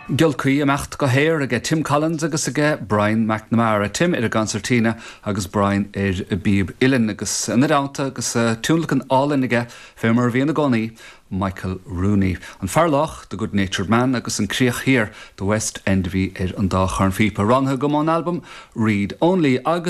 Giolcaí imeacht go haer aige Tim Collins agus aige Brian McNamara, Tim ar an gconsairtín agus Brian ar an bpíob uilleann agus ina dteannta agus tionlacan álainn aige fé mar a bhíonn i gcónaí, Michael Rooney. An Fear Lách, The Good Natured Man agus An Críoch Thiar, The West End a bhí ar an dá chornphíopa. Roghnaithe agam ón albam Reed Only agus.